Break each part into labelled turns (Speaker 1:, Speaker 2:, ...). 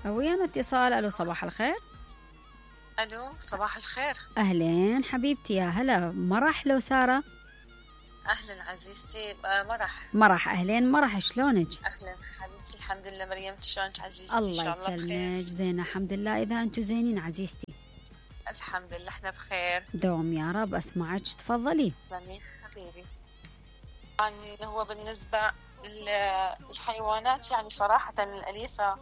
Speaker 1: ويانا اتصال. الو صباح الخير.
Speaker 2: الو صباح الخير.
Speaker 1: اهلين حبيبتي، يا هلا. مرح لو سارة؟
Speaker 2: اهلا عزيزتي.
Speaker 1: مرح اهلين مرح، شلونك؟
Speaker 2: اهلا حبيبتي، الحمد لله. مريم شلونك عزيزتي؟
Speaker 1: الله يسلمك. زينة الحمد لله. اذا انتم زينين عزيزتي؟
Speaker 2: الحمد لله احنا بخير.
Speaker 1: دوم يا رب. اسمعك، تفضلي.
Speaker 2: جميل حبيبي. يعني هو بالنسبة الحيوانات يعني صراحة الأليفة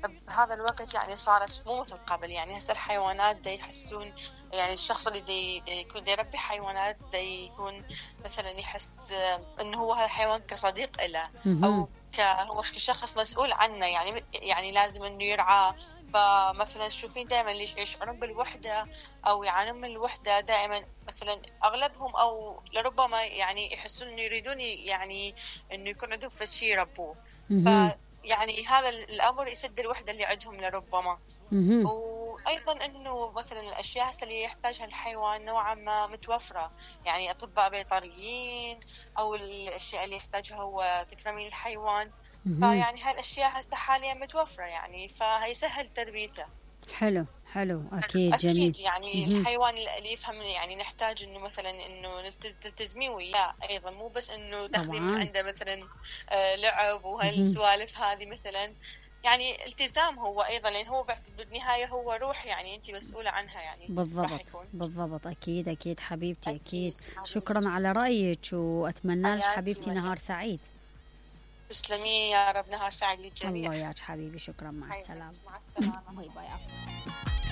Speaker 2: بهذا الوقت يعني صارت مو مثل قبل. يعني هسه الحيوانات دا يحسون، يعني الشخص اللي دا يكون دا يربي حيوانات دا يكون مثلا يحس انه هو هالحيوان كصديق له او هو كشخص مسؤول عنه. يعني لازم انه يرعى. فمثلا تشوفين دائما اللي يشعرون بالوحدة او يعانون من الوحدة دائما، مثلا اغلبهم او لربما يعني يحسون انه يريدون يعني انه يكون عندهم شيء يربوه. فيعني هذا الامر يسد الوحدة اللي عندهم لربما. وايضا انه مثلا الاشياء اللي يحتاجها الحيوان نوعا ما متوفرة، يعني اطباء بيطريين او الاشياء اللي يحتاجها هو تكرمين الحيوان. فيعني هالاشياء هسه حاليا متوفرة، يعني فهيسهل تربيته.
Speaker 1: حلو اكيد جميل.
Speaker 2: اكيد يعني الحيوان الاليف هم يعني نحتاج انه مثلا انه تلتزمين وياه ايضا، مو بس انه تاخذين من عنده مثلا لعب وهالسوالف هذه مثلا. يعني التزام هو ايضا، لان هو بالنهايه هو روح، يعني انت مسؤوله عنها. يعني
Speaker 1: بالضبط اكيد حبيبتي اكيد. شكرا على رايك، واتمنى لك حبيبتي نهار سعيد.
Speaker 2: تسلمي يا رب. نهار سعيد للجميع.
Speaker 1: الله ياك حبيبي. شكرا. مع السلامه.
Speaker 2: مع السلامه.
Speaker 1: باي باي.